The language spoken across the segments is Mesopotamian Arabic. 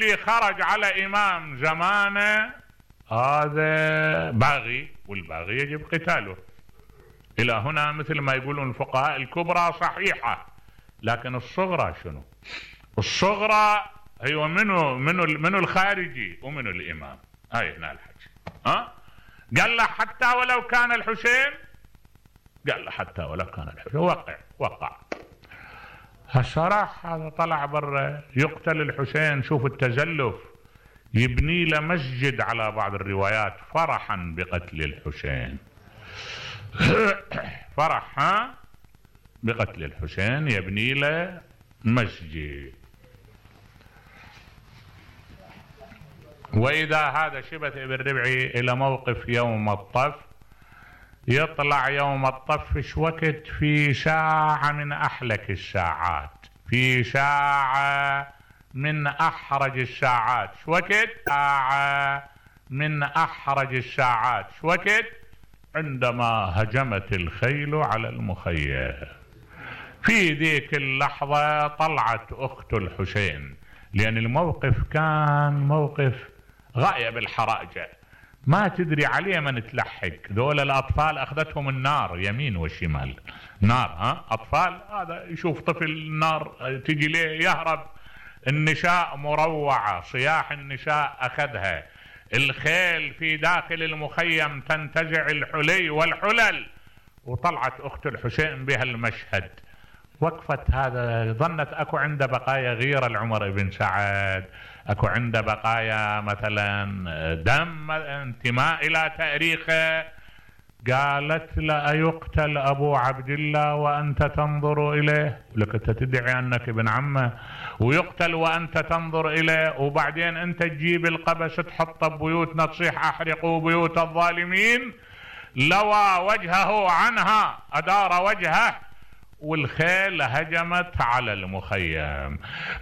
اللي خرج على إمام زمانه هذا باغي، والباغي يجب قتاله. إلى هنا مثل ما يقولون الفقهاء الكبرى صحيحة، لكن الصغرى شنو؟ الصغرى هي منو الخارجي ومنو الإمام. هاي هنا الحكي. قال له حتى ولو كان الحسين، قال له حتى ولو كان الحسين. وقع. هالصراحة هذا طلع برا يقتل الحسين. شوف التزلف، يبني له مسجد على بعض الروايات فرحا بقتل الحسين. فرح بقتل الحسين يبني له مسجد. وإذا هذا شبث ابن ربعي إلى موقف يوم الطف، يطلع يوم الطف ايش وقت؟ في ساعة من أحلك الساعات، في ساعة من أحرج الساعات. ايش وقت؟ ساعة من أحرج الساعات. ايش وقت؟ عندما هجمت الخيل على المخيم. في ذيك اللحظة طلعت أخت الحسين، لأن الموقف كان موقف غاية بالحراجة، ما تدري عليه من تلحق. ذول الأطفال أخذتهم النار يمين وشمال. نار، أطفال، هذا يشوف طفل النار تجي ليه يهرب. النساء مروعة، صياح النساء أخذها. الخيل في داخل المخيم تنتزع الحلي والحلل. وطلعت أخت الحسين بها المشهد. وقفت هذا، ظنت أكو عنده بقايا غيرة لعمر بن سعد، أكو عنده بقايا مثلا دم، انتماء إلى تاريخه. قالت له أيقتل أبو عبد الله وأنت تنظر إليه؟ لك أنت تدعي أنك ابن عمه ويقتل وأنت تنظر إليه، وبعدين أنت تجيب القبس تحطه ببيوتنا تصيح أحرقوا بيوت الظالمين. لوى وجهه عنها، أدار وجهه، والخيل هجمت على المخيم.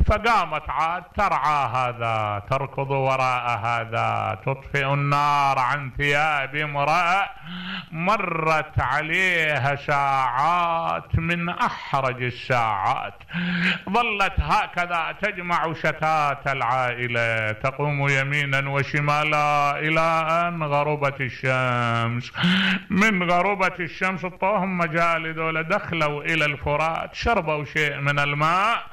فقامت عاد ترعى هذا، تركض وراء هذا، تطفئ النار عن ثياب امرأة. مرت عليها ساعات من أحرج الساعات، ظلت هكذا تجمع شتات العائلة، تقوم يمينا وشمالا إلى أن غربت الشمس. من غربت الشمس طوهم مجال ذولا، دخلوا إلى الفرات، شربوا شيء من الماء.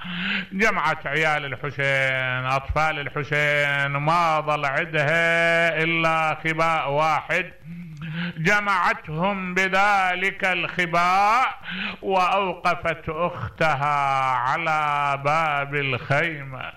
جمعت عيال الحسين، أطفال الحسين، ما ظل عندها إلا خباء واحد، جمعتهم بذلك الخباء وأوقفت أختها على باب الخيمة.